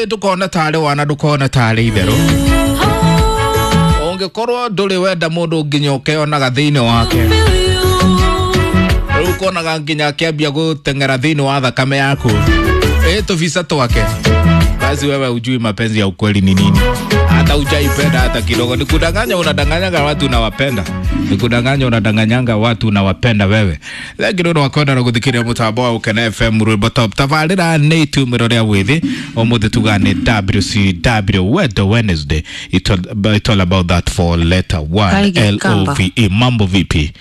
Ndukona tarĩ wana ndukona tarĩ itherũ ũngĩkorwo ndũrĩ wenda mũndũ nginya ũkeonaga thĩinĩ wake rĩu ũkonaga nginya akĩambia gũteng'era thĩinĩ wa thakame yaku ĩ tũbica twake basi wewe ujui mapenzi ya ukweli ni nini, hata hujaipenda hata kidogo. Ni kudanganya, unadanganyaga watu unawapenda, ni kudanganya, unadanganyanga watu unawapenda wewe. Lakini no wakwenda na guthikiria mutambo wa Ukena FM rwimbo top tabarira ni itumiro ria withi umuthi tuga ni WCW Wedo Wednesday. It's all about that for letter 1 L O V E. Mambo vipi?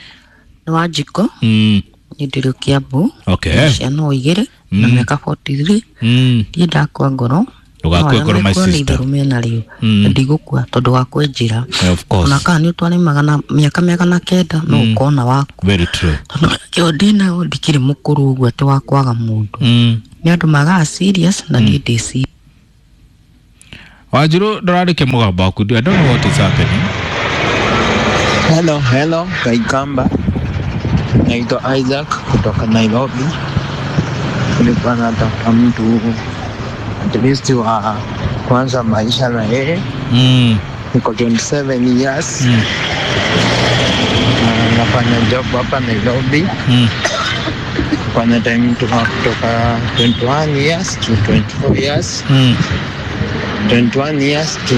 Ni Wanjikũ. Nĩ ndĩrĩ Kiambu. Okay. Ciana igĩrĩ na mĩaka 43. Ndiĩ ndakua ngoro. Ndũgakue ngoro, my sister. Nĩ mena rĩu. Ndigũkua tondũ wa kwenjira. Of course. Ona kana nĩ ũtwarĩmaga na mĩaka 900 no ũkona waku. Very true. Tondũ kĩo ndĩnayo ndikĩrĩ mũkũrũ ũguo atĩ wa kwaga mũndũ. Nĩ andũ magaga serious na niĩ ndĩ serious. Wanjiru ndũrarĩkia mũgambo waku. I don't know what is happening. Hello, hello, Kaikamba. Naitwa Isaac kutoka Nairobi. Nilikuwa natafuta mtu at least wa kuanza maisha na yeye. Niko 27 years. Na nafanya job hapa Nairobi. Kufanya time kutoka 21 years to 24 years. 21 years to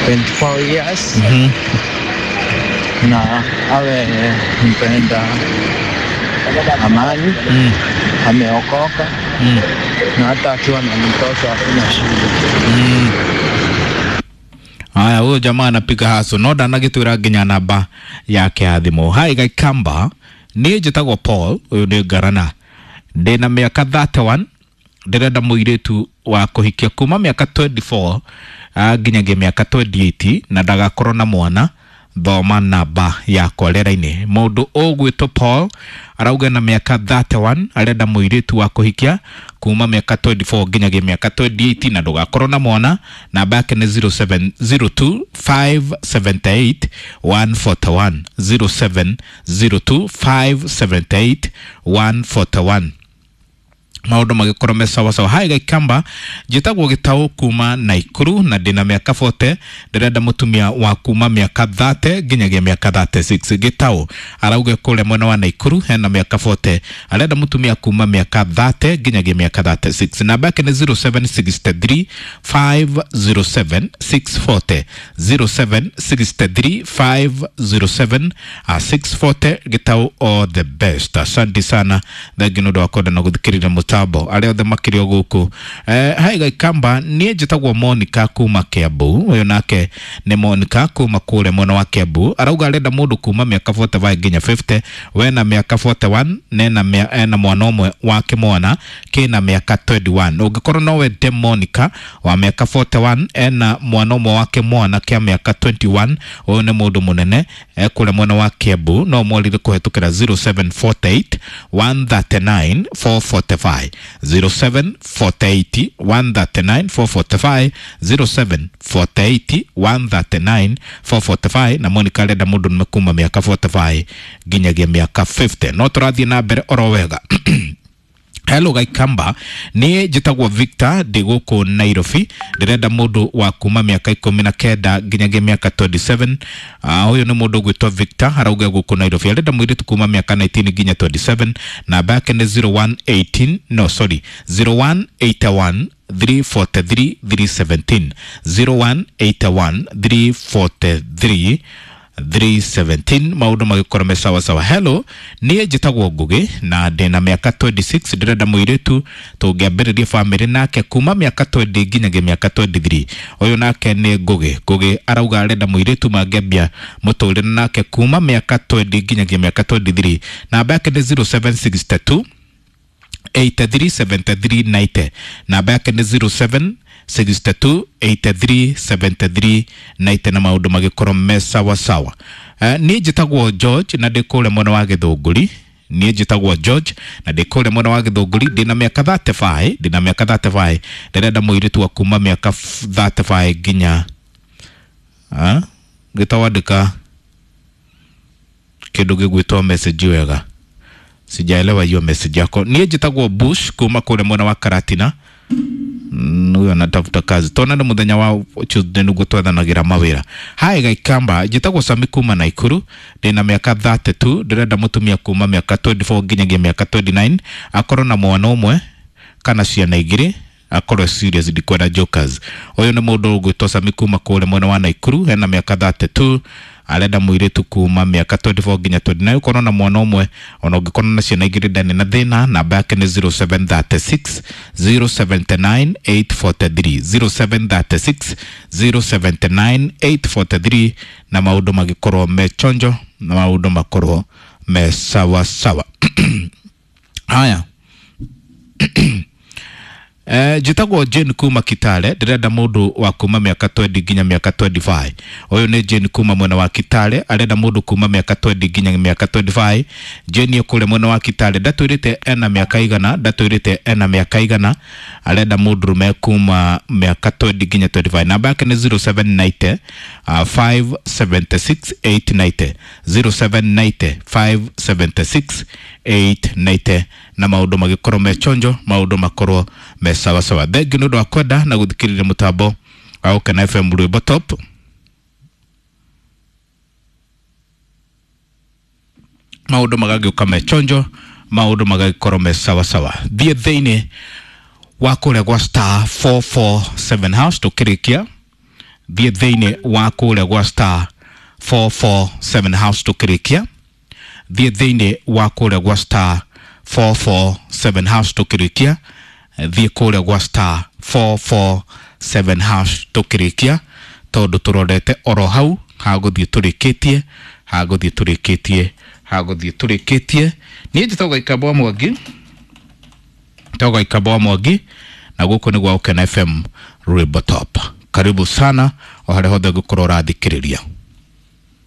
24 years. Na awe mpenda amani, ameokoka, na hata akiwa na mtoto hakuna shida. Haya, huyo jamaa anapiga haso no ndanagĩtwĩra nginya namba yake ya thimũ. Hi Gaikamba, niĩ njĩtagwo Paul, ũyũ nĩ Ngarana, ndĩna mĩaka 31, ndĩrenda mũirĩtu wa kũhikia kuma mĩaka 24 nginyagia mĩaka 28 na ndagakorwo na mwana. Thoma namba yakwa rĩera-inĩ. Mũndũ ũgwĩtwo Paul arauga na mĩaka 31 arenda mũirĩtu wa kũhikia kuma mĩaka 24 nginyagia mĩaka 28 na ndũgakorwo na mwana. Namba yake nĩ 0702 578 141, 0702 578 141. Maũndũ magĩkorwo me sawasawa. Hai Gaikamba, njĩtagwo Gĩtaũ kuma Naikuru na ndĩna mĩaka 40, ndĩrenda mũtumia wa kuma mĩaka 30 nginyagia mĩaka 36. Gĩtaũ arauga kũrĩa mwena wa Naikuru hena mĩaka 40, arenda mũtumia kuma mĩaka 30 nginyagia mĩaka 36. Namba yake nĩ 0763 507 640, 0763 507 640. Gĩtaũ, all the best. Asante sana, thengi nĩ ũndũ wa kwenda na gũthikĩrĩria mũtambo arĩa othe makĩrĩ o gũkũ. Hai Gaikamba, niĩ njĩtagwo Monica kuma Kiambu. Ũyũ nake nĩ Monica kuma kũrĩa mwena wa Kiambu, arauga arenda mũndũ kuma mĩaka 45 nginya 50, we na mĩaka 41 nena ena mwana ũmwe wa kĩmwana kĩna mĩaka 21. Ũngĩkorwo no wende Monica wa mĩaka 41 ena mwana ũmwe wa kĩmwana kĩa mĩaka 21, ũyũ nĩ mũndũ mũnene kũrĩa mwena wa Kiambu, no mwarire kũhetũkĩra 0748 139 445, 0748 139 445, 0748 139 445. Na Monica arenda mũndũ nĩme kuma mĩaka 45 nginyagia mĩaka 50. No tũrathiĩ na mbere oro wega. Hello Gaikamba, niĩ njĩtagwo Victor, ndĩ gũkũ Nairobi, ndĩrenda mũndũ wa kuma mĩaka 19 nginyagia mĩaka 27. Ũyũ nĩ mũndũ ũgwĩtwo Victor, arauga gũkũ Nairobi arenda mũirĩtu kuma mĩaka 19 nginya 27. Namba yake nĩ 0118, no sorry, 0181 343 317, 0181 343 317. Maũndũ magĩkorwo me sawa sawa. Hello, niĩ njĩtagwo Ngũgĩ na ndĩna mĩaka 26, ndĩrenda mũirĩtu tũngĩambĩrĩria bamĩrĩ nake kuma mĩaka 20 nginyagia mĩaka 23. Ũyũ nake nĩ Ngũgĩ. Ngũgĩ arauga arenda mũirĩtu mangĩambia mũtũrĩre nake kuma mĩaka 20 nginyagia mĩaka 23. Namba yake nĩ 0762 83 73 90. Namba yake nĩ 0762 83 73 90 na maũndũ magĩkorwo me sawa sawa. Niĩ njĩtagwo George na ndĩ kũrĩa mwena wa Gĩthũngũri. Niĩ njĩtagwo George na ndĩ kũrĩa mwena wa Gĩthũngũri, ndĩna mĩaka 35, ndĩna mĩaka 35, ndĩrenda mũirĩtu wa kuma mĩaka 35 nginya gĩtawandĩka kĩndũ gĩgwĩtwo message wega, sijaelewa hiyo message yako. Niĩ njĩtagwo Bush kuma kũrĩa mwena wa Karatina. Huyo anatafuta kazi tonane muthenya wa Tuesday niguo twethanagira mawira. Hi Gaikamba, njĩtagwo Sami kuma Naikuru, ndĩna mĩaka 32, ndĩrenda mũtumia kuma mĩaka 24 nginyagia mĩaka 29, akorwo na mwana ũmwe kana ciana igĩrĩ, akorwo serious, ndikwenda jokers. Ũyũ nĩ mũndũ ũgwĩtwo Sami kuma kũrĩa mwena wa Naikuru, ena mĩaka 32, arenda mũirĩtu kuma mĩaka 24 nginya 29, ũkorwo na mwana ũmwe, ona ũngĩkorwo na ciana igĩrĩ ndarĩ na thĩna. Namba yake nĩ 0736 079 843, 0736 079 843, na maũndũ magĩkorwo me chonjo na maũndũ makorwo me sawa sawa. Haya. Njĩtagwo Jane kuma Kitale, ndĩrenda mũndũ wa kuma mĩaka 20 nginya mĩaka 25. Ũyũ nĩ Jane kuma mwena wa Kitale, arenda mũndũ kuma mĩaka 20 nginya mĩaka 25. Jane kũrĩa mwena wa Kitale, ndatwĩrĩte ena mĩaka igana, ndatwĩrĩte ena mĩaka igana, arenda mũndũrũme kuma mĩaka 20 nginya 25. Namba yake nĩ 0790 576 890, 0790 576 890, na maũndũ magĩkorwo me chonjo, maũndũ makorwo me sawa sawa. Thengiũ nĩ ũndũ wa kwenda na gũthikĩrĩria mũtambo wa Gũkena FM Rwĩmbo Top. Maũndũ magagĩũka me chonjo, maũndũ magagĩkorwo me sawa sawa. Thiĩ thĩinĩ wa kũrĩa gwa star 447 house tũkĩrĩkia. Thiĩ thĩinĩ wa kũrĩa gwa star 447 house tũkĩrĩkia. Thiĩ thĩinĩ wa kũrĩa gwa star 447 house tũkĩrĩkia. Thiĩ kũrĩa gwa star 447 hash tũkĩrĩkia, tondũ tũrorete oro hau hagũthiĩ tũrĩkĩtie, hagũthiĩ tũrĩkĩtie, hagũthiĩ tũrĩkĩtie. Niĩ njĩtagwo Gaikamba wa Mwangi, njĩtagwo Gaikamba wa Mwangi, na gũkũ nĩ gwa Gũkena FM Rwĩmbo Top. Karibu sana o harĩa hothe ũngĩkorwo ũrathikĩrĩria.